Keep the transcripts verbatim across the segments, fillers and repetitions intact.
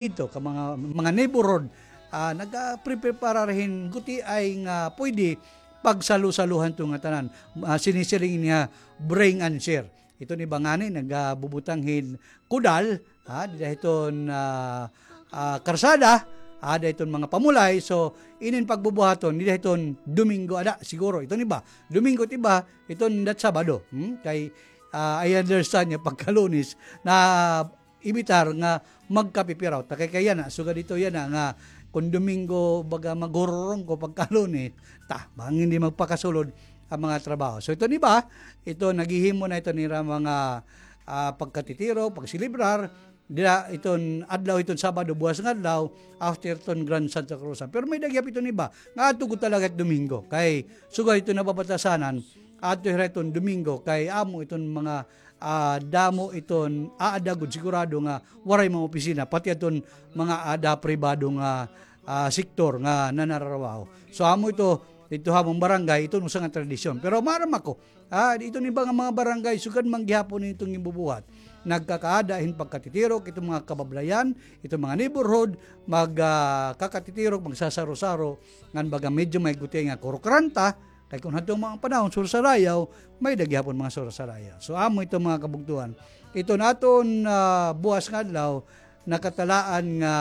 didto ka mga, mga neighborhood, ah, nagapreparar hin gutiay nga pwede pagsalo-salohan ito nga tanan. Ah, sinisiring niya bring and share. Iton iba ngani nagabubutang hin kudal, ah, dida hiton, ah, ah, karsada, ah, dida hiton mga pamulay. So, inin pagbubuhaton, dida hiton Domingo, ada, siguro, iton iba. Domingo, it iba, iton dat Sabado. Hmm? Kay, ah, I understand niya pagka Lunes na ibitar nga magkapipiraw. Ta kay, kay yana, sugad ito yana nga kon Domingo, baga maghururong ko pagka Lunes, ta, bangin di magpakasulod ang mga trabaho. So, ito ni ba, ito naghihimo na ito nira mga, ah, pagkatitiro, pagselebrar, dira iton adlaw, iton Sabado, buwas nga adlaw, after iton Grand Santa Cruzan. Pero may-ada gihap ito ni ba, nga adto gud talaga it Domingo. Kay, sugad ito nababatasanan, adto hira iton Domingo, kay amo iton mga ah, damo iton aada gud sigurado nga waray mga opisina, pati aton mga aada pribado nga, ah, sektor nga nanararabaho. So, amo ito, didto ha amon barangay, iton usa nga tradisyon. Pero maaram ako, ah, iton iba nga mga barangay, sugad man gihapon iton ginbubuhat. Nagkakaada hin pagkatitirok, iton mga kabablayan, iton mga neighborhood, mag, ah, kakatitirok, magsasaro-saro, ngan baga medyo may gutiay nga kurukranta, kay kon hadto mga panahon, sursarayaw, may-ada gihapon mga sursarayaw. So, amo ito mga kabugtuan. Ito naton, ah, buwas nga adlaw, nakatalaan nga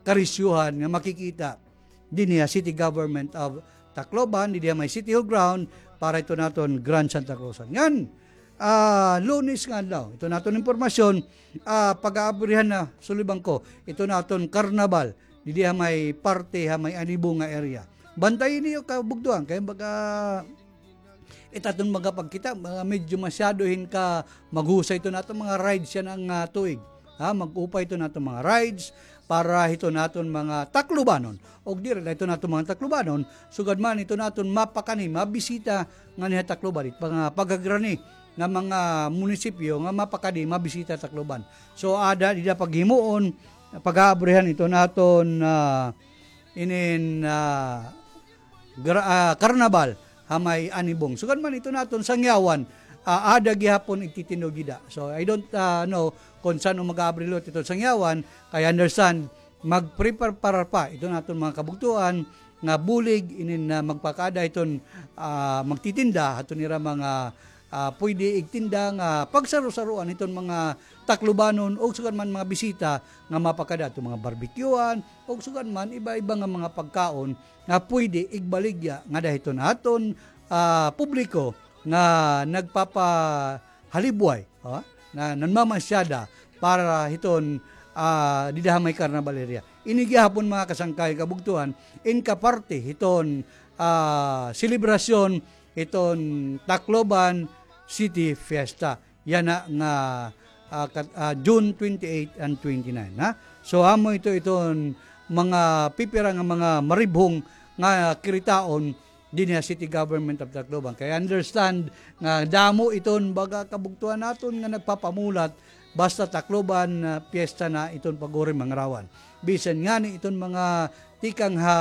karisyuhan nga makikita dinhi ha City Government of Tacloban, dinhi ha may City Hall Ground, para ito naton Grand Santa Cruzan. Ngan, ah, Lunes nga adlaw, ito naton impormasyon, ah, pag-aabrihan na, sulibang ko, ito naton karnabal, didi ha may parte, ha may Anibong nga area. Bantayi niyo kabugtuan, kay baga, it aton mga pagkita, mga medyo masyado hin ka maghusay ito naton mga rides yana nga, ah, tuig. Ha, mag-upay ito naton mga rides para hito naton mga Taclobanon. Og diri la ito naton mga Taclobanon, sugad man ito naton mapakani, mabisita nganhi ha Tacloban, it mga pagagrani nga mga munisipyo nga mapakadi, mabisita Tacloban. So, ada dida paghimuon, pag-aabrihan ito naton, ah, inin, ah, gra-, ah, karnabal ha may Anibong. Sugad man ito naton Sangyawan, ah, ada gihapon igtitindog dida. So, I don't, ah, know kon san-o mag-aabri liwat ito Sangyawan, kay understand, magpreparar pa ito naton mga kabugtuan nga bulig inin na magpakaada iton, ah, magtitinda, aton ira mga, ah, pwede igtinda nga pagsaro-saroan iton mga Taclobanon o sugad man mga bisita nga mapakada aton mga barbecuehan o sugad man iba-iba nga mga pagkaon nga pwede igbaligya ngada hiton aton, ah, publiko nga nagpapahalibway, ha, na nanmamasyada para hiton, ah, dida ha may Carnival area. Ini gihapon mga kasangkayan, kabugtuan, in kaparte hiton, ah, selebrasyon hiton Tacloban City Fiesta. Yana nga, ah, kat-, ah, June twenty-eight and twenty-nine, ha? So, amo ito, iton mga pipira nga mga maribhong nga kiritaon dinhi ha City Government of Tacloban. Kay understand nga damo iton baga kabugtuan naton nga nagpapamulat basta Tacloban, ah, piyesta na iton pag-uri mangrawan. Bisan ngani iton mga tikang ha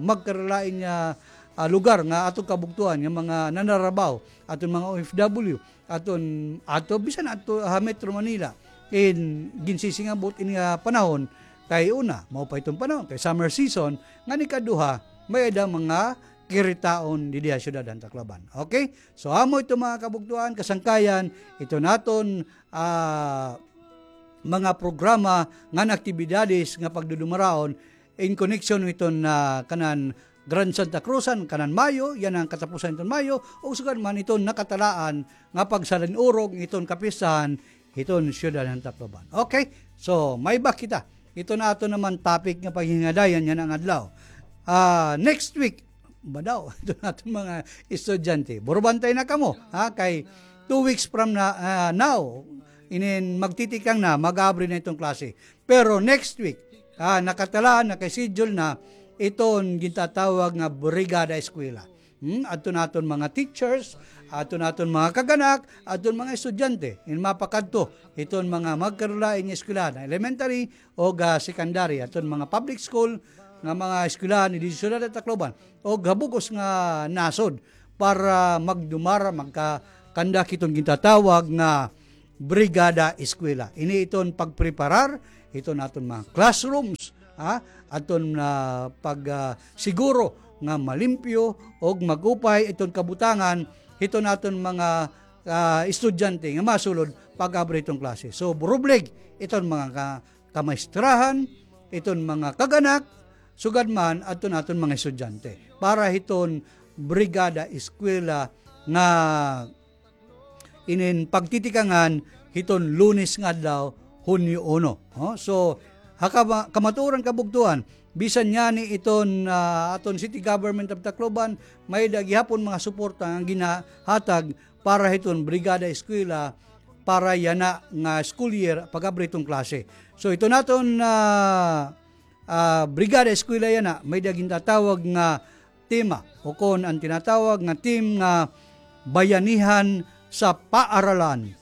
magkaralain nga, ah, lugar nga aton kabugtuan nga mga nanarabaho, aton mga O F W, aton, ato, bisan ato ha Metro Manila, in ginsisingabot ini nga panahon, kay una, mao pa iton panahon, kay summer season, ngan ikaduha, may-ada mga kiritaon didi ha syudad han Tacloban. Okay? So, amo ito mga kabugtuan, kasangkayan, ito naton, ah, mga programa ngan aktibidades nga pagdudumaraon in connection iton, ah, kanan Grand Santa Cruzan, kanan Mayo, yana an katapusan iton Mayo, o sugad man iton nakatalaan nga pagsalan-urog iton kapistahan hiton syudad han Tacloban. Okay? So, may-ada kita. Ito na aton naman topic nga paghingadayan yana nga adlaw. Ah, next week, ba daw, ito na aton mga estudyante. Burubantay na kamo, ha? Kay two weeks from na, ah, now, inin magtitikang na, mag-aabri na iton klase. Pero next week, ah, nakatalaan, naka-schedule na iton gintatawag nga Brigada Eskwela. Hmm? Adto naton mga teachers, adto naton mga kag-anak, adton mga estudyante. In mapakadto, iton mga magkarulain nga eskwelahan, elementary o ga secondary, adton mga public school, nga mga eskwelahan didi ha syudad han Tacloban, o ha bug-os nga nasod para magdumara, magka-conduct iton gintatawag nga Brigada Eskwela. Ini iton pagpreparar hiton aton mga classrooms, ha? Aton, ah, pag, ah, siguro nga malimpyo og mag-upay iton kabutangan hiton aton mga, ah, estudyante nga masulod pag-abri hiton klase. So, burublig iton mga ka-, kamaestrahan, iton mga kag-anak, sugad man adton aton mga estudyante para hiton Brigada Eskwela nga inin pagtitikangan hiton Lunes nga adlaw, Hunyo uno. Oh, so, ha kama-, kamatuoran, kabugtoan, bisan ngani iton, ah, aton City Government of Tacloban, may-ada gihapon mga suporta nga ginahatag para hiton Brigada Eskwela para yana nga school year, pag-abri hiton klase. So, iton aton, ah, ah, Brigada Eskwela yana, may-ada gintatawag nga tema, o kon an tinatawag nga theme nga Bayanihan sa Paaralan,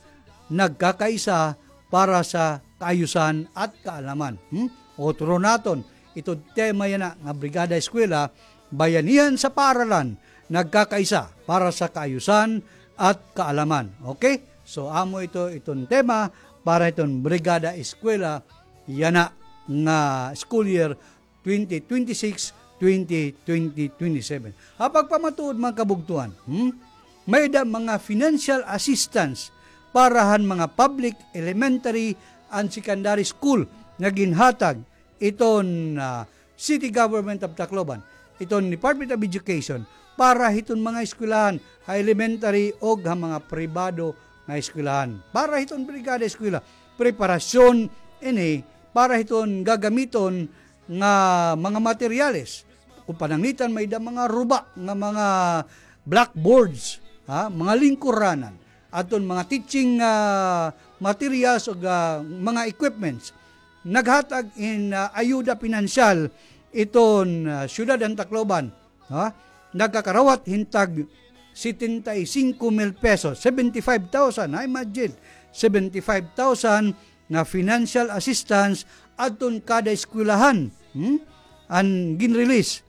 Nagkakaisa para sa Kaayusan at Kaalaman. Hmm? Otro naton, iton tema yana nga Brigada Eskwela, Bayanihan sa Paaralan, Nagkakaisa para sa Kaayusan at Kaalaman. Okay? So, amo ito, iton tema para iton Brigada Eskwela yana nga school year twenty twenty-six, twenty twenty-seven. Ha pagpamatuod, mga kabugtoan, hmm? May-ada mga financial assistance para han mga public, elementary, and secondary school nga ginhatag iton, ah, City Government of Tacloban, iton Department of Education, para hiton mga eskwelahan ha elementary og ha mga pribado nga eskwelahan. Para hiton Brigada Eskwela, preparasyon ini para hiton gagamiton nga mga materyales. Kon pananglitan, may-ada mga ruba nga mga blackboards, ha, mga lingkuranan, aton mga teaching, ah, materials o, ah, mga equipments. Naghatag hin, ah, ayuda pinansyal iton, ah, syudad han Tacloban, ha? Nagkakarawat hin tag setenta y cinco mil pesos, seventy-five thousand, ha, imagine, seventy-five thousand nga financial assistance adton kada eskwelahan, hmm? An ginrelease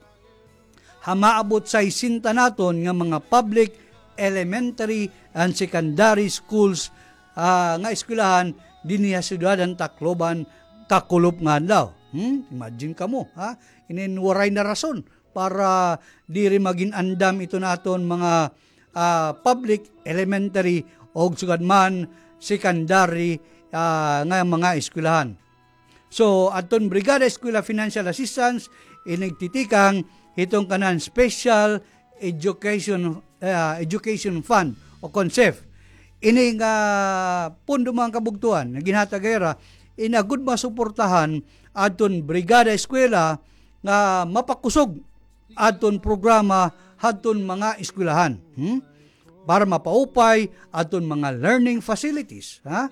ha maabot saysenta naton nga mga public, elementary, and secondary schools, ah, nga eskwelahan dinhi ha syudad han Tacloban, kakulop nga adlaw. Hmm? Imagine kamo, ha? Inin waray na rason para diri magin andam iton aton mga, ah, public, elementary, og sugad man secondary, ah, nga mga eskwelahan. So, adton Brigada Eskwela Financial Assistance, ini nagtitikang hiton kanan Special Education, ah, Education Fund o kon SEF. Ini nga pondo, mga kabugtoan, nga ginhatag hira, ini agod masuportahan adton Brigada Eskwela nga mapakusog adton programa hadton mga eskwelahan. Hmm? Para mapaupay adton mga learning facilities, ha?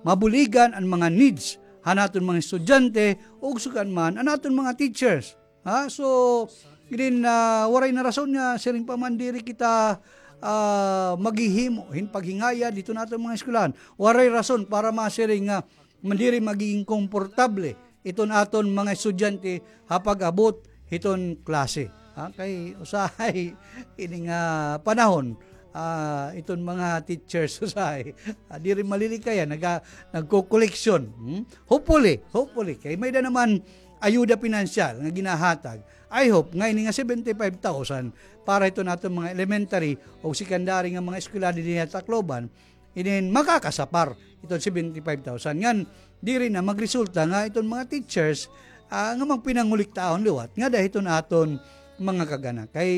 Mabuligan an mga needs han aton mga estudyante, ug sugad man an aton mga teachers, ha? So, ginin, ah, waray na rason nga siring pa man diri kita, ah, maghihimo hin paghingayad hiton aton mga eskwelahan. Waray rason para masiring nga man diri magiging komportable iton aton mga estudyante ha pag-abot hiton klase. Ha, kay usahay ini nga panahon, ah, iton mga teachers usahay, ah, diri malilikayan, naga-, nagko-koleksyon. Hmm? Hopefully, hopefully, kay may-ada naman ayuda pinansyal nga ginahatag. I hope nga ini nga seventy-five thousand para hiton aton mga elementary o secondary nga mga eskwela dinhi ha Tacloban, inin makakasapar iton seventy-five thousand. Ngan, diri na magresulta nga iton mga teachers, ah, nga magpinanguliktahon liwat ngada hiton aton mga kag-anak. Kay,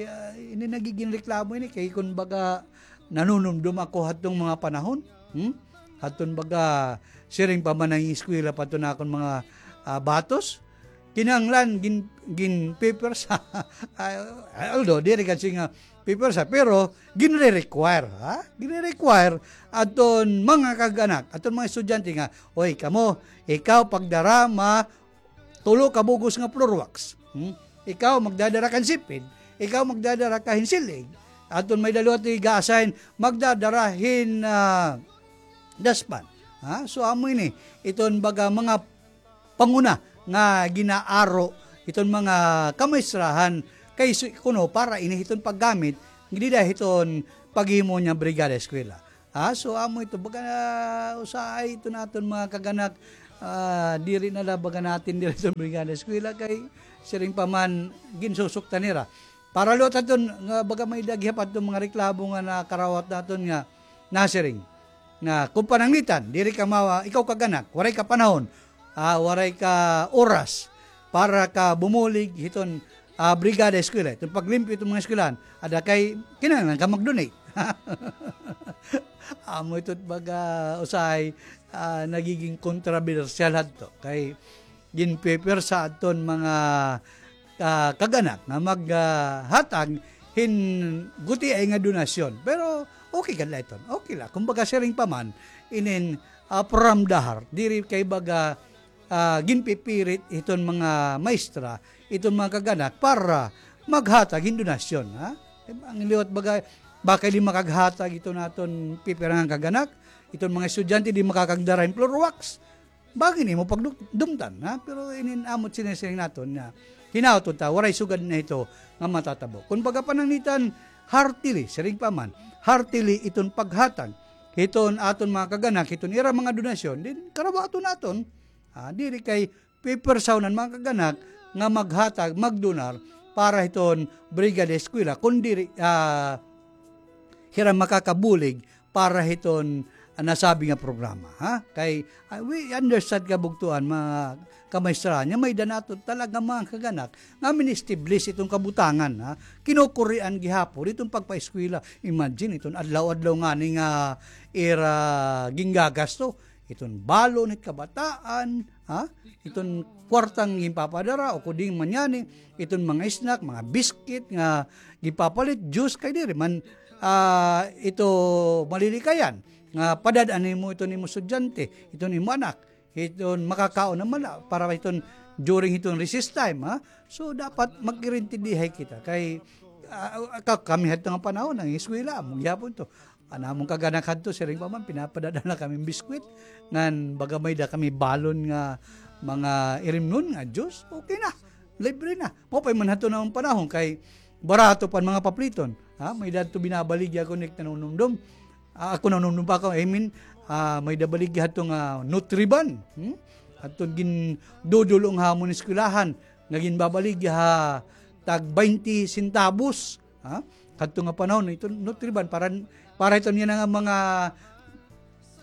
ah, ini nagigin reklamo ini, kay kon baga nanunumdom ako hadtong mga panahon, hmm? Hadton baga siring pa man an eskwela pa to na akon mga, ah, batos. Kinahanglan gin-, gin-paper sa, ah, although diri kasi nga paper sa, pero ginre-require, ha? Ginre-require aton mga kag-anak, aton mga estudyante nga, "Oy, kamo, ikaw pagdara ma tulo ka bugos nga floor wax. Hmm? Ikaw magdadara kan sipid, ikaw magdadara ka hin silig." Aton may-ada liwat ga-assign, magdadara hin, ah, dustpan. Ha? So, amo ini, iton baga mga panguna nga ginaaro hiton mga kamaestrahan kay su-, kuno para ini hiton paggamit dida hiton paghimo niya brigada eskwela. Ha? So, amo ito, baga, ah, usahay iton aton mga kag-anak, ah, diri na la baga natin diri sa Brigada Eskwela kay siring pa man ginsusuktan nira. Para liwat aton nga baga may-ada gihap aton mga reklamo nga nakarawat naton nga nasiring nga kun pananglitan, diri ka mawa, ikaw kag anak, waray ka panahon, ah, waray ka oras para ka bumulig hiton, ah, Brigada Eskwela, hiton paglimpyo hiton mga eskwelahan, ada kay kinahanglan ka mag-donate. Amo ito baga usahay, ah, nagiging kontrobersyal hadto kay ginpipwersa adton mga, ah, kag-anak nga mag, ah, hatag hin gutiay nga donasyon. Pero okay gad la iton. Okay la. Kumbaga, siring pa man, inin, ah, from the heart. Diri kay baga, ah, ginpipirit iton mga maestra, iton mga kag-anak para maghatag hin donasyon, ha? Ang liwat baga, baka di makaghatag iton aton pipirangan kag-anak, iton mga estudyante di makakagdara hin floor wax. Bagi nimo pagdumtan, ha? Pero inin amot sinisiring naton nga hinaot unta, waray sugad na ito nga matatabo. Kun baga pananglitan, heartily, siring pa man, heartily iton paghatag hiton aton mga kag-anak, hiton ira mga donasyon, din karabaton naton, ha? Diri kay pipersawnan mga kag-anak nga maghatag, magdonar para hiton Brigada Eskwela, kun diri, ah, hira makakabulig para hiton, ah, nasabi nga programa, ha? Kay, ah, we understand, kabugtuan, mga kamaestra, nga may-ada naton talaga mga kag-anak nga min-establish iton kabutangan, ha? Kinukurian gihapon iton pagpaeskwela. Imagine, iton adlaw-adlaw ngani nga ira ginggagasto, iton balon hit kabataan, ha? Iton kwartang ginpapadara, o kuding man yani, iton mga snack, mga biscuit nga gipapalit, juice, kay diri man, ah, ito malilikayan nga padad-an nimo iton imo estudyante, iton imo anak, iton makakaon naman la para iton during iton recess time, ha? So, dapat magkirintindihay kita kay, ah, ka-, kami hadto nga panahon, nangingeskwela, amo gihapon to. An amon kag-anak hadto, siring pa man, pinapadad-an na kami biskwit. Ngan baga may-ada kami balon nga mga irimnon nga juice, okay na. Libre na. Maupay man hadto nga panahon kay barato pa an mga papliton. Ha? May-ada hadto binabaligya ako, Nick, nanunumdom. Ah, ako nanunumdom pa ako, I mean, ah, may-ada baligya hadto nga Nutriban. Hmm? Hadto gindudul-ong ha amon eskwelahan nga ginbabaligya ha tag baynte centavos. Ha? Kadto nga panahon, ito Nutriban, para, para ito niya nga mga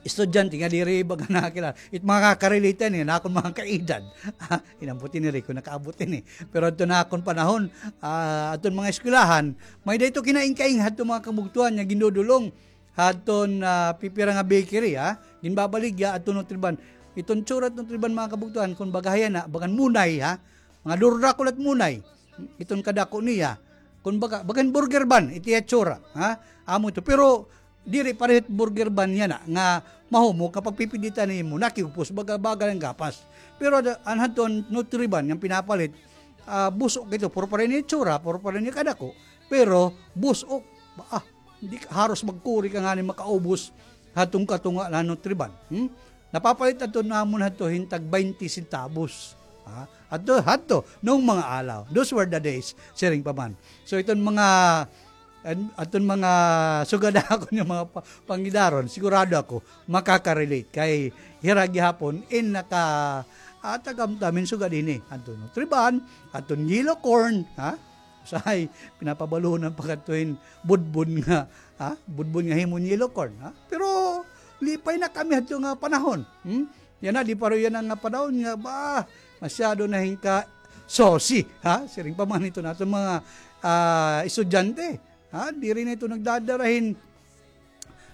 estudyante nga diri baga nakakilala. It mga kakarelate ini, na akon mga kaedad. Ha? Inabot ini, Rico, nakaabot ini. Pero adto na akon panahon, ah, adton mga eskwelahan, may-ada ito kinaingkaing hadto mga kabugtuan nga gindudul-ong hadton, ah, pipira nga bakery, ha? Ginbabaligya adto Nutriban. Iton tsura Nutriban, mga kabugtuan, kun baga yana, bagan munay, ha? Mga durdakol at munay. Iton kadako niya. Kun baga, bagan burger ban, iti itsura, ha? Amo ito. Pero, diri pareho it burger ban yana, nga mahumok, kapag pipinditan nimo, nakiupos, baga, baga an gapas. Pero, ada, an hadton Nutriban, nga pinapalit, ah, bus-ok ito, puro pareho ini itsura, puro pareho ini kadako. Pero, bus-ok, ba, ah, di ka, haros magkuri ka ngani makaubos hadton katunga la Nutriban. Hmm? Napapalit adto namon hadto hin tag baynte centavos. Ha? Adto, hadto, noong mga alaw. Those were the days, siring pa man. So, iton mga, an-, aton mga sugad akon nga mga pa-, pangidaron, sigurado ako, makaka-relate. Kay hira gihapon, in naka, ah, tagamtam hin sugad ini. Adton Nutriban, adton yellow corn, ha? Usahay, pinapabalunan pa kadto hin budbud nga, ha? Budbud nga himo hin yellow corn, ha? Pero lipay na kami hadto nga panahon. Hmm? Yana, di pareho yana nga panahon nga, ba, masyado na hin ka-saucy, ha? Siring pa man ito naton mga, ah, estudyante, ha? Diri na ito nagdadara hin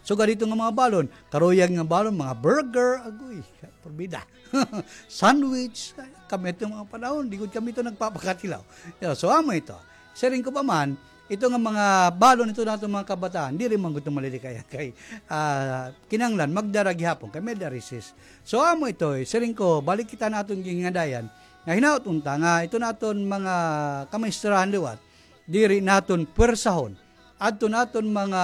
sugad hito nga mga balon, karuyag nga balon, mga burger, agoy, porbida. Sandwich, kami hito mga panahon, di gud kami ito nagpapakatilaw. Yeah, so, amo ito. Siring ko pa man, ito nga mga balon, ito naton mga kabataan, diri man gud ito malilikayan kay, ah, kinahanglan, magdara gihapon, kay may-ada recess. So, amo ito, eh, siring ko, balik kita naton ginngadayan, nga hinaot unta, nga ito naton mga kamaestrahan liwat, diri naton pwersahon. Adto naton mga,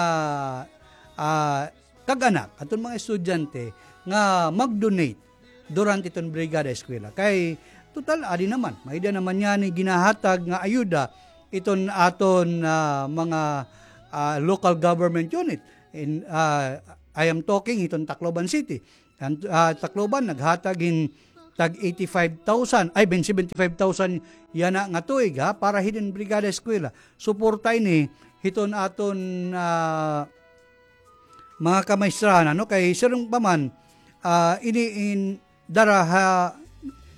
ah, kag-anak, aton mga estudyante nga mag-donate durante iton Brigada Eskwela. Kay, total, adi naman, may-ada naman yana ginahatag nga ayuda iton aton, ah, mga, ah, local government unit. In, ah, I am talking iton Tacloban City. An, ah, Tacloban, naghatag hin tag eighty-five thousand, ay, ben, seventy-five thousand yana nga tuig, ha, para hinin Brigada Eskwela. Suporta ini hiton aton, ah, mga kamaestra, ano, kay siring pa man, ah, ini in dara ha,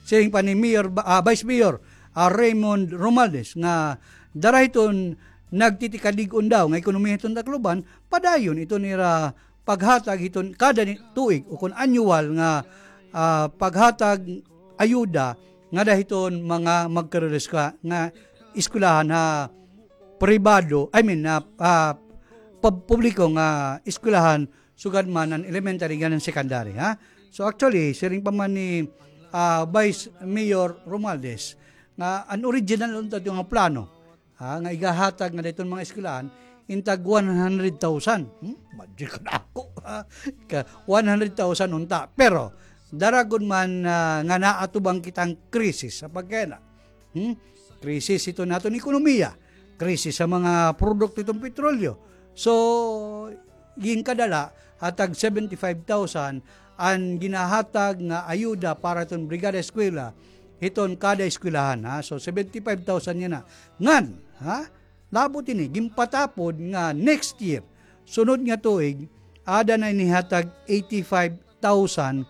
siring pa ni Mayor, ah, Vice Mayor, ah, Raymond Romualdez, nga dara hiton nagtitikadig-on daw nga ekonomiya hiton Tacloban, padayon iton ira paghatag hiton kada ni-, tuig o kon annual nga, ah, paghatag ayuda ngada hiton mga magkarureskwa-, nga eskwelahan ha pribado, I mean, ah, ah, pub-, publiko nga eskwelahan, sugad man an elementary ngan an secondary, ha? So, actually, siring pa man ni, ah, Vice Mayor Romualdez nga an original unta ito nga plano, ha, nga igahatag ngada hiton mga eskwelahan, in tag one hundred thousand. Hmm? Imagine ko na ako, ha? Ka one hundred thousand unta. Pero, dara gud man, ah, nga naatubang kita han krisis ha pagkaina. Hmm? Krisis hiton aton ekonomiya. Krisis ha mga produkto hiton petrolyo. So, ginkadala, ha tag seventy-five thousand an ginahatag nga ayuda para hiton Brigada Eskwela, hiton kada eskwelahan, ha? So, seventy-five thousand yana. Ngan, ha? Labot ini, ginpatapod nga next year, sunod nga tuig, aada na ini ha tag eighty-five thousand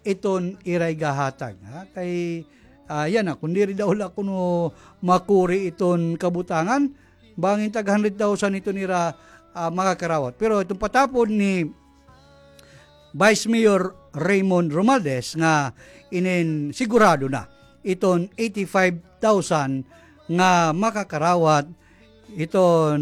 iton ira igahatag, ha? Kay, ah, yana, kon diri daw la kuno makuri iton kabutangan, bangin tag hundred thousand iton ira, ah, makakarawat. Pero iton patapod ni Vice Mayor Raymond Romualdez nga inin sigurado na iton eighty-five thousand nga makakarawat iton,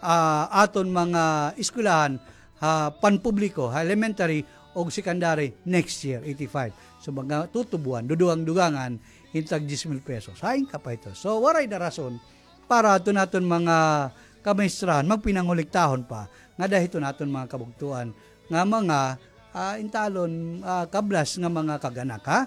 ah, aton mga eskwelahan ha panpubliko, ha elementary ug secondary next year, eighty-five. So, magtutubuan, dudugang-dugangan, hin tag diyes mil pesos. Hain ka pa ito. So, waray na rason para adton aton mga kamaestra, magpinanguliktahon pa, ngada hiton aton mga kabugtoan, nga mga, ah, intalon, ah, kablas nga mga kag-anak, ha?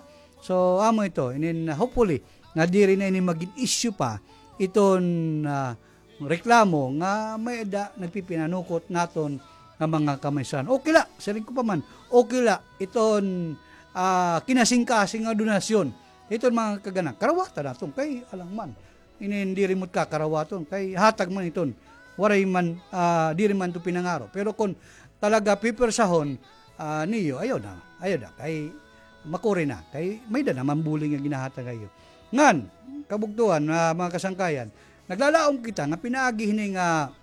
So, amo ito, inin, hopefully, nga diri na ini magin issue pa, iton, ah, reklamo nga may-ada nagpipinanukot naton nga mga kamaestra. Okay la, siring ko pa man, okay la, iton, ah, kinasingkasing nga donasyon, iton mga kag-anak, karawata naton, kay alang man. Inin diri mo kakarawaton, kay hatag man iton. Waray man, ah, diri man ito pinangaro. Pero kon talaga pipersahon, ah, niyo, ayaw na, ayaw na, kay makuri na, kay may-ada naman bulig nga ginahatag ha iyo. Ngan, kabugtoan, ah, mga kasangkayan, naglalaom kita nga pinaagi hini nga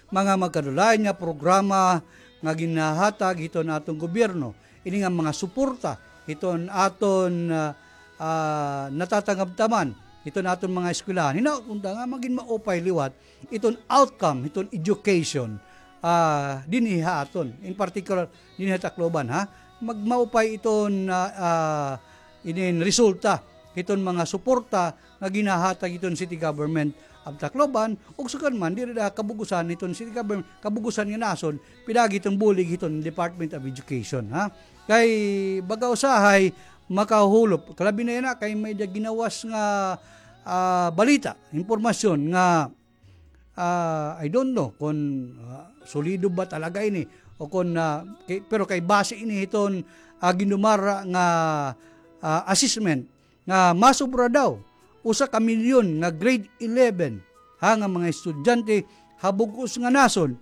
mga magkadulain nga programa nga ginahatag hiton aton gobyerno, ini nga mga suporta hiton aton, ah, ah, natatanggap ta man hiton aton mga eskwelahan. Hinaot unta nga magin maupay liwat iton outcome hiton education, ah, dinhi ha aton, in particular dinhi ha Tacloban, ha. Magmaupay iton, ah, ah, inin resulta hiton mga suporta nga ginahatag hiton City Government of Tacloban, ug sugad man diri da kabug-osan hiton City Government, kabug-osan nga nasod, pinaagi hiton bulig hiton Department of Education, ha. Kay baga usahay makahulop, kalabi na yana kay may-ada ginawas nga, ah, balita, impormasyon nga, ah, I don't know kon, ah, solido ba talaga ini o kon, ah, kay, pero kay base ini hiton, ah, gindumara nga, ah, assessment nga masobra daw usa ka milyon nga grade eleven ha nga mga estudyante ha bug-os nga nasod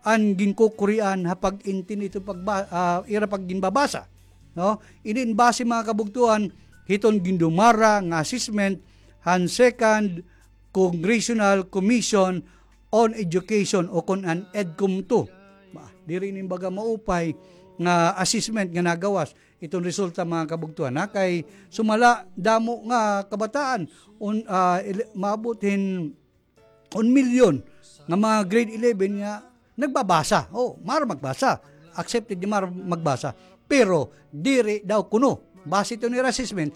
an ginkukurian ha pag-intindi hiton pagba-, ah, ira pagginbabasa, no? Inin base, mga kabugtoan, hiton gindumara nga assessment han Second Congressional Commission on Education o kon an EDCOM two. Ba, diri ini baga maupay nga assessment nga nagawas. Iton resulta, mga kabugtoan, ha, kay sumala damo nga kabataan, un-, ah, ele-, maabot hin un milyon nga mga grade eleven nga nagbabasa. Oh, maaram magbasa. Accepted nga maaram magbasa. Pero diri daw kuno, base hiton ira assessment,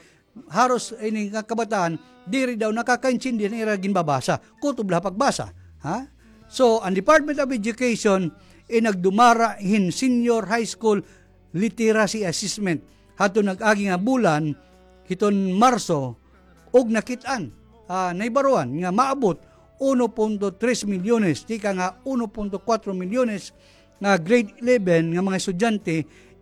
haros ini nga kabataan diri daw nakakaintindi han ira ginbabasa. Kutob la ha pagbasa, ha? So, an Department of Education in nagdumara hin senior high school literacy assessment hadton nag-agi nga bulan hiton Marso, ug nakit-an, ah, nahibaroan nga maabot uno punto tres milyones, tikang ha uno punto kuwatro milyones nga grade eleven nga mga estudyante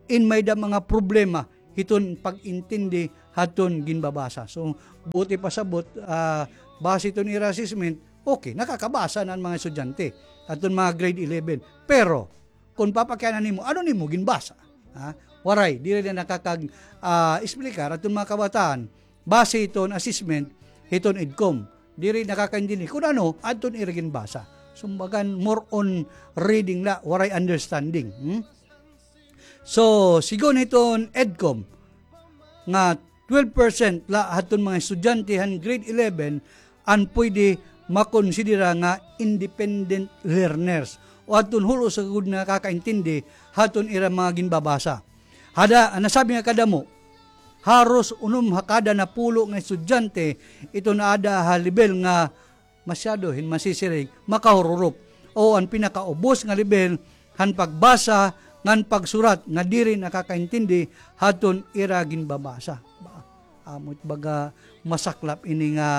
in may-ada mga problema hiton pag-intindi hadton ginbabasa. So, buot ipasabot, ah, base hiton ira assessment, okay, nakakabasa na an mga estudyante hadton mga grade eleven. Pero, kon papakiana nimo, ano nimo ginbasa? Ha? Waray, diri na nakakag-, ah, explicar hadton mga kabataan base hiton assessment hiton EDCOM. Diri nakakaintindi kon ano hadton ira ginbasa. Kumbaga, more on reading la, waray understanding. Hmm? So, sigon hiton EDCOM, nga twelve percent la hadton mga estudyante han grade eleven an pwede makonsidera nga independent learners o hadton hulo sa gud nakakaintindi hadton ira mga ginbabasa. Hada, nasabi nga kadamo, haros unom ha kada napulo nga estudyante iton aada ha lebel nga masyado hin masisiring, makahururop, o an pinakaubos nga lebel han pagbasa ngan pagsurat nga diri nakakaintindi hadton ira ginbabasa. Ba, amo it baga masaklap ini nga,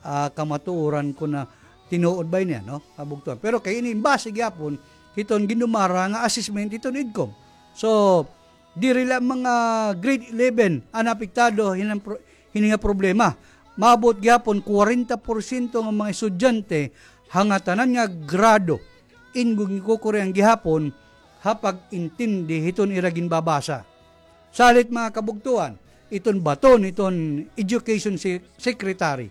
ah, kamatuoran kon tinuod ba ini, no? Kabugtoan. Pero kay ini base gihapon hiton ginumara nga assessment hiton EDCOM. So, diri la mga grade eleven an apektado hinan pro-, hini nga problema. Maabot gihapon kwarenta porsyento nga mga estudyante ha ngatanan nga grado in gin-, gikukurian gihapon ha pag-intindi hiton ira ginbabasa. Salit, mga kabugtoan, iton baton hiton education se-, secretary.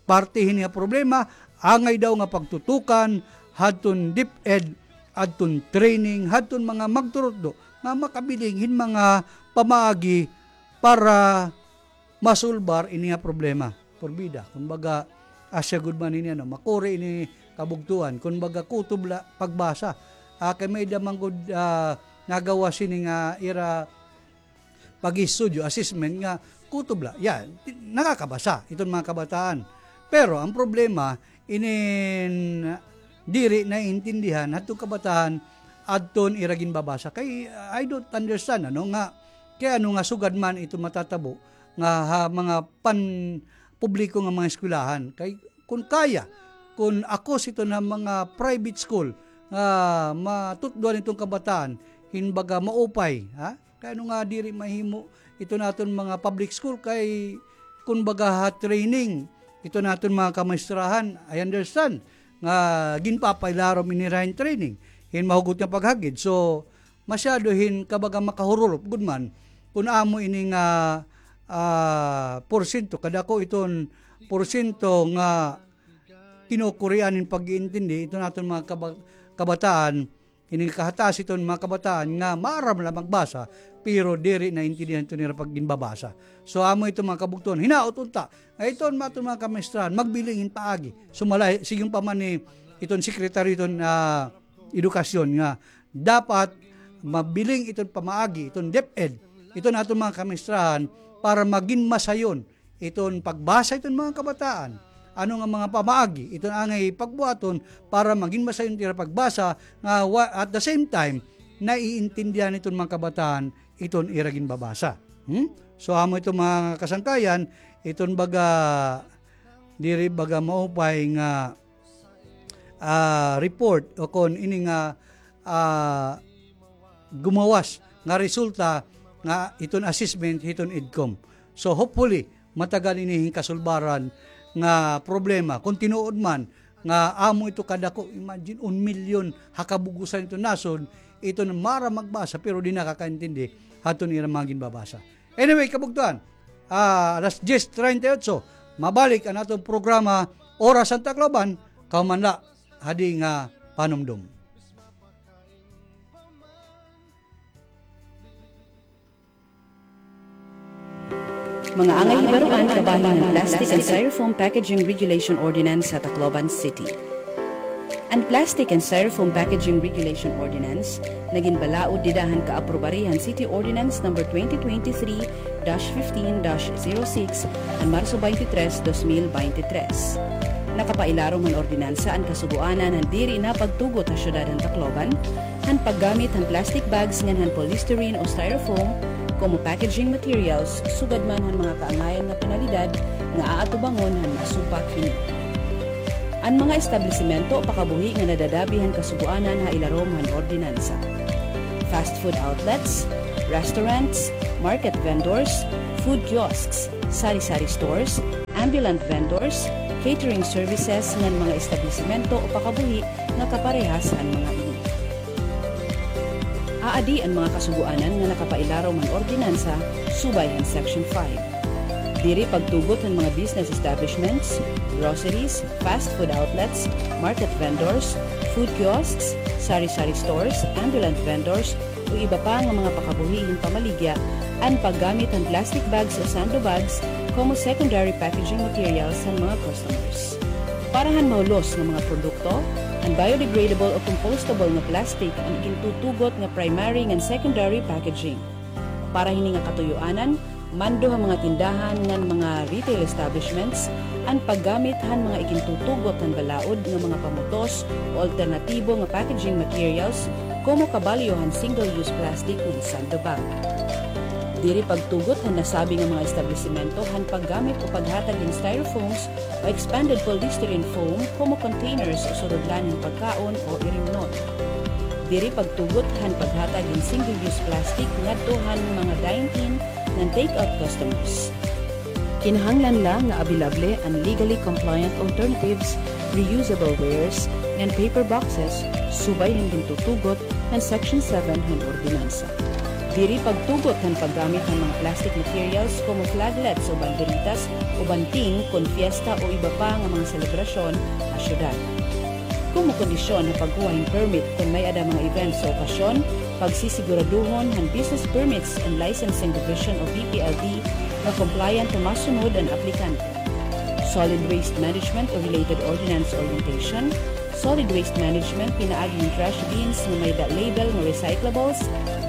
Parte hini nga problema, angay daw nga pagtutukan hadton DepEd, hadton training, hadton mga magturutdo nga makabiling hin mga pamaagi para masulbar ini nga problema. Porbida, kumbaga, asya gud man ini, ano, makuri ini kabugtoan, kumbaga, kutob la pagbasa. Ah, kay may-ada man gud, ah, nagawas hini nga ira pag-istudyo, assessment nga kutob la. Yan, ti-, nakakabasa iton mga kabataan. Pero ang problema, inin diri naiintindihan hadton kabataan adton ira ginbabasa. Kay, I don't understand, ano, nga, kay ano nga sugad man ito matatabo nga ha mga pan-, publiko nga mga eskwelahan. Kay kun kaya, kun ako sito na mga private school nga matutdoan iton kabataan, hin baga maupay, ha? Kay ano nga diri mahimo ito naton mga public school kay kun baga ha training, ito naton mga kamaestrahan, I understand nga ginpapailarom ini ra hin training, hin mahugot nga paghagid. So, masyado hin kabaga makahururop gud man kun amo ini nga, ah, porsyento, kadako iton porsyento nga kinukurian hin pag-iintindi iton aton mga kaba-, kabataan, ini kahataas iton mga kabataan nga maaram la magbasa, pero diri naintindihan iton ira pagginbabasa. So, amo iton mga kabugtoan. Hinaot unta nga iton aton mga kamaestrahan magbiling hin paagi. Sumala, sigon pa man ni iton sekretaryo iton, ah, edukasyon nga dapat mabiling iton pamaagi, iton DepEd, iton aton mga kamaestrahan para magin masayon iton pagbasa iton mga kabataan. Ano nga mga pamaagi iton angay pagbuhaton para magin masayon it ira pagbasa nga wa-, at the same time, naiintindihan iton mga kabataan iton ira ginbabasa. Hmm? So, amo iton mga kasangkayan, iton baga, diri baga maupay nga ah, report o kon ini nga, ah, gumawas nga resulta nga iton assessment hiton EDCOM. So, hopefully, matagan ini hin kasulbaran nga problema. Kon tinuod man nga amo ito kadako, imagine, un milyon ha kabug-osan iton nasod, iton maaram magbasa pero di nakakaintindi hadton ira mga ginbabasa. Anyway, kabugtoan, ah, alas diyes treinta y ocho, mabalik an aton programa, Oras han Tacloban, kahuman la hadi nga panumdom. Mga angay hibaroan kabahin han Plastic and Styrofoam Packaging Regulation Ordinance ha Tacloban City. An Plastic and Styrofoam Packaging Regulation Ordinance nagin balaod dida han kaaprobari han City Ordinance Number twenty twenty-three dash fifteen dash zero six han Marso twenty-three, dos mil beintitrés. Nakapailarom han ordinansa an kasugoanan han diri na pagtugot ha syudad han Tacloban han paggamit han plastic bags ngan han polystyrene o styrofoam komo packaging materials, sugad man han mga kaangayan nga penalidad nga aatubangon han maasumpak hini. An mga establisimento pakabuhi nga nadadabi han kasugoanan ha ilarom han ordinansa: fast food outlets, restaurants, market vendors, food kiosks, sari-sari stores, ambulant vendors, catering services ngan mga establisimento o pakabuhi nga kaparehas han mga ini. Aadi an mga kasugoanan nga nakapailaraw han ordinansa subay han Section five. Diri pagtugot han mga business establishments, groceries, fast food outlets, market vendors, food kiosks, sari-sari stores, ambulant vendors, o iba pa nga mga pakabuhi hin pamaligya an paggamit han plastic bags o sando bags komo secondary packaging materials han mga customers. Para han mahulos nga mga produkto, an biodegradable o compostable nga plastic an igintutugot nga primary ngan secondary packaging. Para hini nga katuyoanan, mando ha mga tindahan ngan mga retail establishments an paggamit han mga igintutugot han balaod nga mga pamutos o alternatibo nga packaging materials komo kabalyo han single-use plastic ngan sando bag. Diri pagtugot han nasabi nga mga establisimento han paggamit o paghatag hin styrofoams o expanded polystyrene foam komo containers o surudlan hin pagkaon o irimnon. Diri pagtugot han paghatag hin single-use plastic ngadto han mga dine-in ngan take-out customers. Kinahanglan la nga abilable an legally compliant alternatives, reusable wares, ngan paper boxes subay han gintutugot han Section seven han ordinansa. Diri pagtugot han paggamit han mga plastic materials komo flaglets o banderitas o banting kon fiesta o iba pa nga mga selebrasyon ha syudad. Komo kondisyon ha pagkuha hin permit kon may-ada mga events o okasyon, pagsisiguraduhon han Business Permits and Licensing Division o B P L D nga compliant o masunod an aplikante. Solid waste management o related ordinance orientation, solid waste management pinaagi hin trash bins nga may-ada label nga recyclables,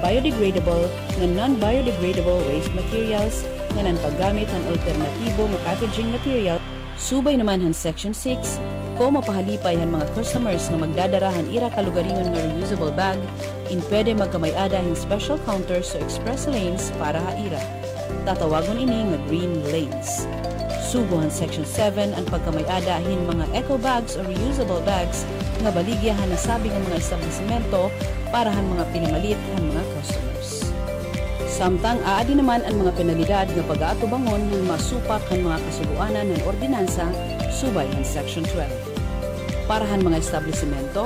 biodegradable, ngan non-biodegradable waste materials, ngan an paggamit han alternatibo nga packaging material, subay naman han Section six, komo pahalipay han mga customers nga magdadara han ira kalugaringon nga reusable bag, in pwede magkamay-ada hin special counters o express lanes para ha ira. Tatawagon ini nga green lanes. Sugo han Section seven an pagkamay-ada hin mga eco bags o reusable bags nga baligya han nasabi nga mga establisimento para han mga pinamalit han mga customers. Samtang aadi naman an mga penalidad nga pag-aatubangon ngan masupak han mga kasugoanan han ordinansa subay han Section twelve. Para han mga establisimento,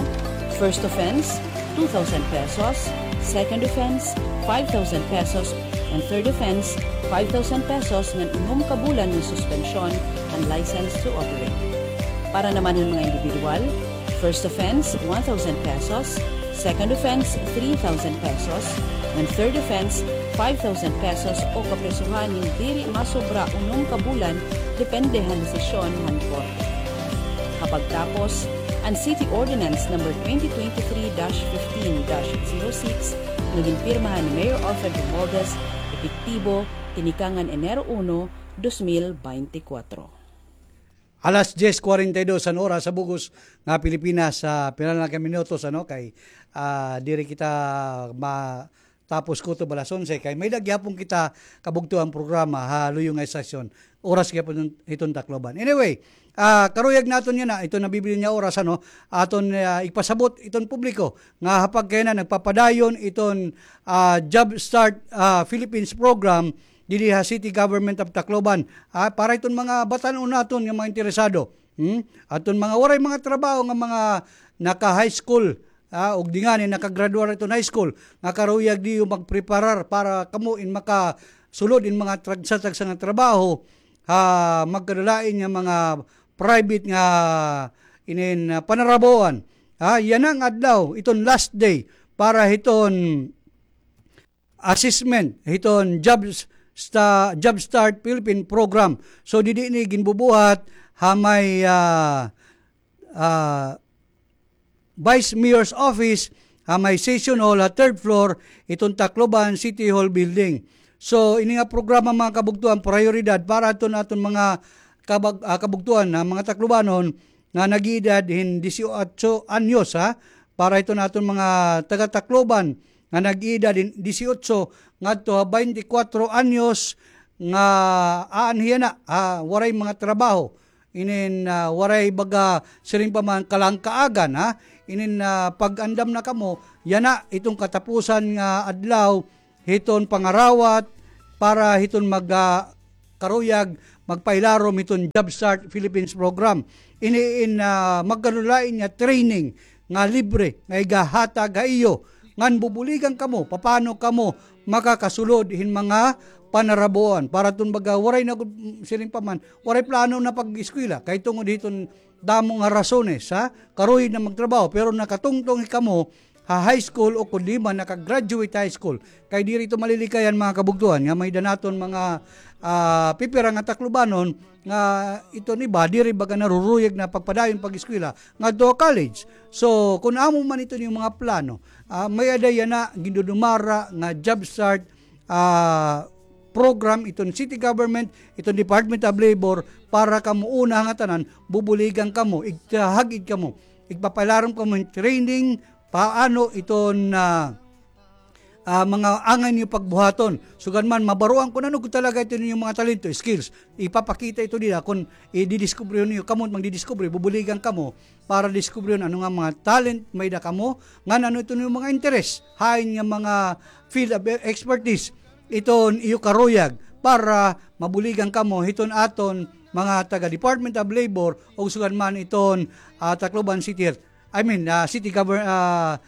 first offense, two thousand pesos, second offense, five thousand pesos, and third offense, five thousand pesos ngan unom ka bulan nga suspensyon an license to operate. Para naman han mga individual, first offense, one thousand pesos, second offense, three thousand pesos, and third offense, five thousand pesos o kapresohan nga diri masobra unom ka bulan, depende han desisyon han korte. Ha pagtapos, an City Ordinance Number twenty twenty-three dash fifteen dash zero six nga ginpirmahan ni Mayor Alfred Romualdez, epektibo tinikangan Enero uno, dos mil beintikwatro. Alas dyes kwarenta y dos an oras sa bug-os nga Pilipinas, sa pila na ka minutos, ano, kay, ah, diri kita matapos kutob alas onse, kay may-ada gihapon kita kabugtoan programa ha luyo nga estasyon. Oras gihapon hiton Tacloban. Anyway, ah, karuyag naton yana, iton nabibilin nga oras, ano, aton, ah, ipasabot iton publiko nga ha pagkayana nagpapadayon iton, ah, Job Start, ah, Philippines program didi ha City Government of Tacloban. Ah, para iton mga batan-on naton nga mga interesado. Hmm? Aton mga waray mga trabaho nga mga naka-high school, ah, ug di ngani nakagraduar iton high school, nga karuyag niyo magpreparar para kamo in makasulod in mga tagsa-tagsa nga trabaho, ha magkadalain nga mga private nga inin, ah, panarabahoan. Ah, yana nga adlaw, iton last day para hiton assessment hiton Jobs sta-, Job Start Philippine Program. So, didi ini ginbubuhat ha may, ah, ah, Vice Mayor's Office, ha may Session Hall, ha third floor, iton Tacloban City Hall Building. So, ini nga programa, mga kabugtoan, prayoridad para aton, aton mga kabag-, ah, kabugtoan, ha, mga Taclobanon, nga nag-iedad hin disiotso anyos, ha, para iton aton mga taga-Tacloban nga nag-iedad hin disiotso ngadto ha baynte kwatro anyos nga aanhi yana, ha, waray mga trabaho. Inin, ah, waray baga siring pa man kalangkaagan, ha. Inin, ah, pag-andam na kamo, yana iton katapusan nga adlaw hiton pangarawat para hiton mag, ah, karuyag magpailarom hiton JobStart Philippines program. Ini in, ah, magkalulain nga training nga libre nga igahatag ha iyo ngan bubuligan kamo papano kamo makakasulod hin mga panarabuan para tun baga waray na gud, siring pa man, waray plano na pag-eskwela kay tungod hiton damo nga rasones, ha? Karuyag na magtrabaho, pero nakatungtong kamo ha high school o kundi man naka-graduate high school. Kay diri ito malilikayan, mga kabugtuan, nga may danaton mga, ah, pipira nga Taclobanon nga iton iba diri baga naruruyag na pagpadayon pag-eskwela ngadto college. So, kun amo man ito yung mga plano, ah, may-ada yana gindudumara nga JobStart ah, program iton city government, iton Department of Labor, para kamo una nga tanan, bubuligan kamo, igtahag-id kamo, igpapailarom kamo hin training, paano iton, ah, ah, mga angay niyo pagbuhaton. Sugad man, mabaroan kun ano gud talaga iton inyong mga talento, skills. Ipapakita ito dida kun ididiskubre niyo, kamo magdidiskubre, bubuligan kamo para diskubrihon ano nga mga talent may-ada kamo, ngan ano iton inyong mga interes, hain nga mga field of expertise iton iyo karuyag para mabuligan kamo hiton aton mga taga Department of Labor o sugad man iton, ah, Tacloban City Health. I mean, ah, City Govern-, ah,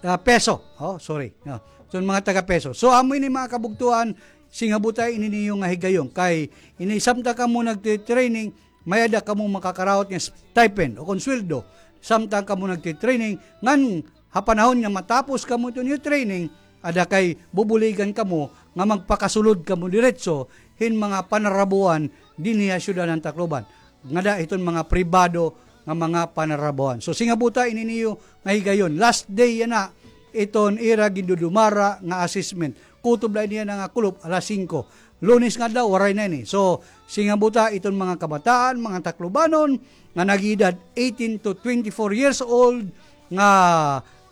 ah, PESO. Oh, sorry. No. So, mga taga PESO. So, amo ini mga kabugtuan, singabutay ini niyo nga higayon. Kay, ini samtang kamo nagtitraining, may-ada kamo makakaraot nga stipend o kon sweldo. Samtang kamo nagtitraining, ngan ha panahon nga matapos kamo iton iyo training, ada kay bubuligan kamo nga magpakasulod kamo diretso hin mga panarabuan dinhi ha syudad han Tacloban. Ngada hiton mga pribado nga mga panarabuan. So, singabuta ini niyo nga higayon. Last day yana iton ira gindudumara nga assessment. Kutob la ini yana nga kulop, alas singko. Lunes nga adlaw, waray na ini. So, singabuta iton mga kabataan, mga Taclobanon, nga nag-edad eighteen to twenty-four years old, nga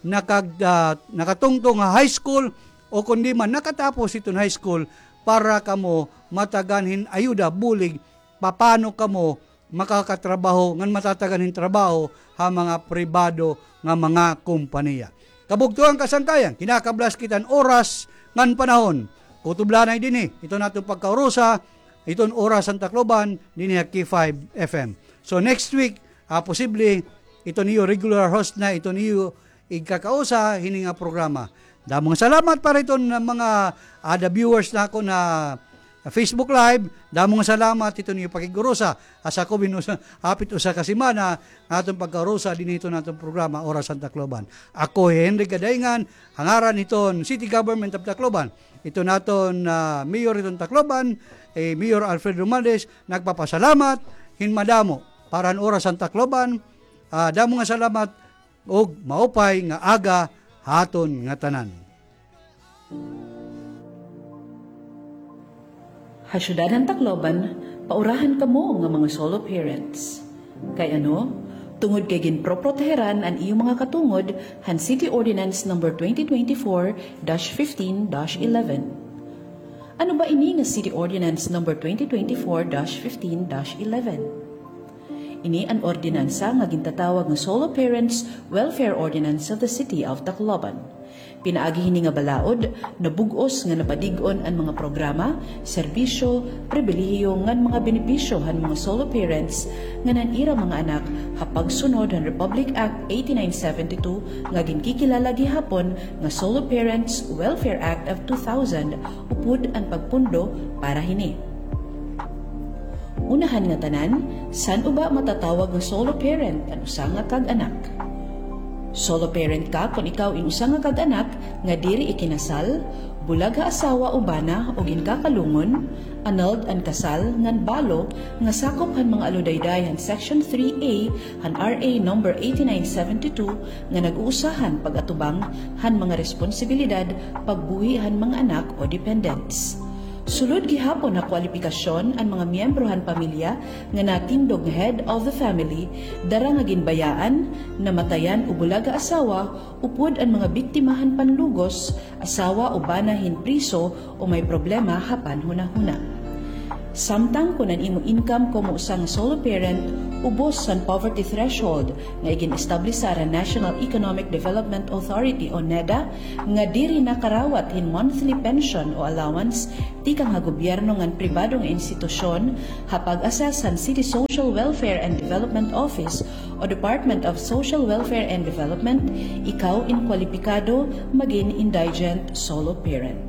nakag-, ah, nakatungtong ha high school, o kundi man nakatapos iton high school, para kamo matagan hin ayuda, bulig, papano kamo makakatrabaho ngan matatagan hin trabaho ha mga pribado nga mga kompanya. Kabugtoan, kasangkayan, kinakablas kita han oras ngan panahon. Kutob la anay dinhi iton aton pagkaurusa, iton Oras han Tacloban dinhi ha K five F M. So next week, ah, posible iton iyo regular host na iton iyo igkakausa hini nga programa. Damo nga salamat para iton, ah, mga, ah, the viewers nakon ha Facebook Live. Damo nga salamat hiton iyo pakig-urusa. Asa ko binus-, hapit usa ka semana nga aton pagkaurusa dinhi hiton aton programa, Oras han Tacloban. Ako hi Henry Gadaingan, ha ngaran hiton City Government of Tacloban, iton aton, ah, Mayor hiton Tacloban, eh, Mayor Alfred Romualdez, nagpapasalamat hin madamo para han Oras han Tacloban. Ah, damo nga salamat. Ug maupay nga aga ha aton ngatanan. Ha syudad han Tacloban, paurahan kamo nga mga solo parents. Kay ano? Tungod kay ginproproteheran an iyo mga katungod han City Ordinance Number twenty twenty-four dash fifteen dash eleven. Ano ba ini nga City Ordinance Number twenty twenty-four dash fifteen dash eleven? Ini an ordinansa nga gintatawag nga Solo Parents Welfare Ordinance of the City of Tacloban. Pinaagi hini nga balaod, nabug-os nga napadig-on an mga programa, serbisyo, pribilehiyo ngan mga benepisyo han mga solo parents ngan han ira mga anak ha pagsunod han Republic Act eighty-nine seventy-two nga ginkikilala gihapon nga Solo Parents Welfare Act of two thousand, upod an pagpundo para hini. Unahan ngatanan, san-o ba matatawag nga solo parent an usa nga kag-anak? Solo parent ka kon ikaw in usa nga kag-anak nga diri ikinasal, bulag ha asawa o bana o ginkakalungon, annulled an kasal ngan balo nga sakop han mga aludayday han Section three A han R A number eighty-nine seventy-two nga nag-uusahan pag-atubang han mga responsibilidad pagbuhi han mga anak o dependents. Sulod gihapon ha kwalipikasyon an mga miyembro han pamilya nga natindog nga head of the family, dara nga ginbayaan, namatayan o bulag ha asawa, upod an mga biktima han panlugos, asawa o bana hin priso o may problema ha panhunahuna. Samtang kon an imo income komo usa nga solo parent ubos han poverty threshold nga igin-establish han National Economic Development Authority o NEDA nga diri nakarawat hin monthly pension o allowance tikang ha gobyerno ngan pribado nga institusyon, ha pag-assess han City Social Welfare and Development Office o Department of Social Welfare and Development, ikaw in kwalipikado magin indigent solo parent.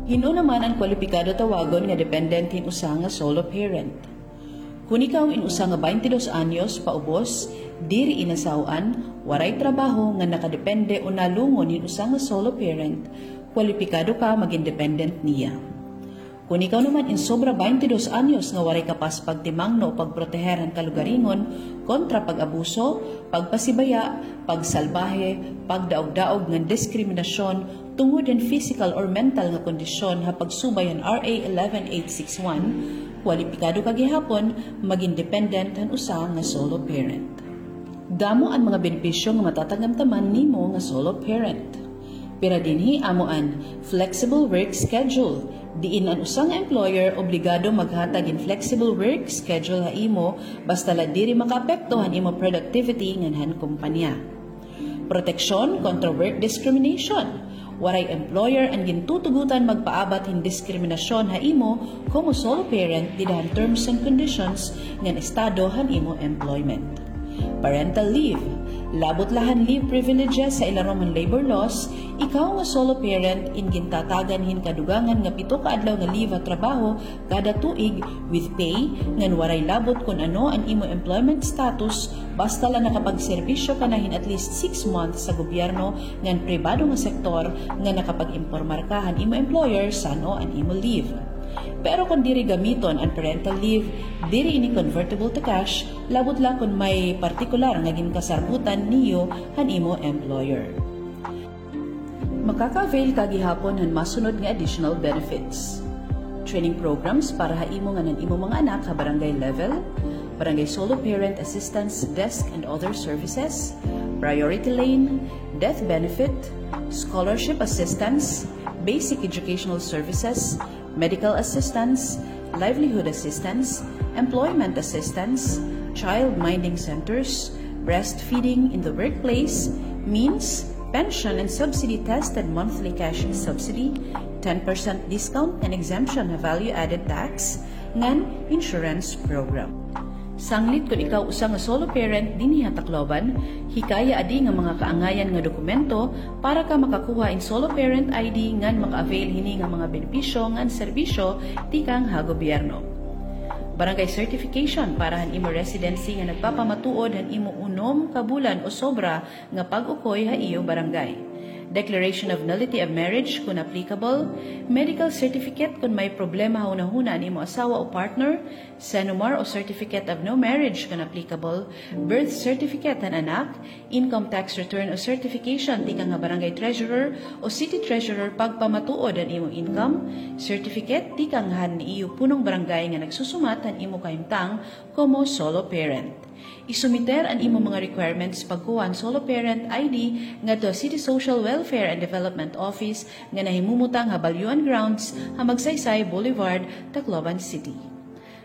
Hin-o naman an kwalipikado tawagon nga dependent hin usa nga solo parent? Kon ikaw in usa nga baynte dos anyos paubos, diri inasaw-an, waray trabaho ngan nakadepende o nalungon hin usa nga solo parent, kwalipikado ka magin dependent niya. Kon ikaw naman in sobra baynte dos anyos nga waray kapas pagtimangno o pagproteher han kalugaringon kontra pag-abuso, pagpasibaya, pagsalbahe, pagdaog-daog ngan diskriminasyon tungod hin physical or mental nga kondisyon ha pagsubay han R A eleven eight six one, kwalipikado ka gihapon magin dependent han usa nga solo parent. Damo an mga benepisyo nga matatangamtaman nimo nga solo parent. Pira dinhi amo an flexible work schedule, diin an usa nga employer obligado maghatag hin flexible work schedule ha imo, basta la diri makaapekto han imo productivity ngan han kompanya. Proteksyon kontra work discrimination. Waray employer an gintutugotan magpaabat hin diskriminasyon ha imo komo solo parent dida han terms and conditions ngan estado han imo employment. Parental leave. Labot la han leave privileges ha ilarom han labor laws, ikaw nga solo parent in gintatagan hin kadugangan nga pito ka adlaw nga leave ha trabaho kada tuig with pay, ngan waray labot kon ano an imo employment status, basta la nakapagserbisyo ka na hin at least six months sa gobyerno ngan pribado nga sektor, ngan nakapag-impormar ka han imo employer san-o an imo leave. Pero kon diri gamiton an parental leave, diri ini convertible to cash, labot la kon may partikular nga ginkasarbutan niyo han imo employer. Makaka-avail ka gihapon han masunod nga additional benefits: training programs para ha imo ngan han imo mga anak ha barangay level, barangay solo parent assistance desk and other services, priority lane, death benefit, scholarship assistance, basic educational services, medical assistance, livelihood assistance, employment assistance, child minding centers, breastfeeding in the workplace, means, pension and subsidy tested monthly cash subsidy, ten percent discount and exemption ha value-added tax, ngan insurance program. Sanglit kon ikaw usa nga solo parent dinhi ha Tacloban, hikaya adi nga mga kaangayan nga dokumento para ka makakuha hin solo parent I D ngan maka-avail hini nga mga benepisyo ngan serbisyo tikang ha gobyerno. Barangay certification para han imo residency nga nagpapamatuod han imo unom ka bulan o sobra nga pag-ukoy ha iyo barangay. Declaration of nullity of marriage kon applicable, medical certificate kon may problema ha hunahuna an imo asawa o partner, CENOMAR o certificate of no marriage kon applicable, birth certificate han anak, income tax return o certification tikang ha barangay treasurer o city treasurer pagpamatuod han imo income, certificate tikang han iyo punong barangay nga nagsusumat han imo kahimtang komo solo parent. Isumiter an imo mga requirements pagkuha han solo parent I D ngadto ha City Social Welfare and Development Office nga nahimumutang ha Balyuan Grounds ha Magsaysay Boulevard, Tacloban City.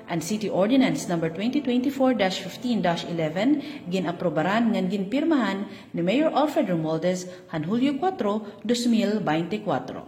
An City Ordinance Number twenty twenty-four dash fifteen dash eleven gin-aprobaran ngan ginpirmahan ni Mayor Alfred Romualdez han Hulyo kuwatro, dos mil baynte kuwatro.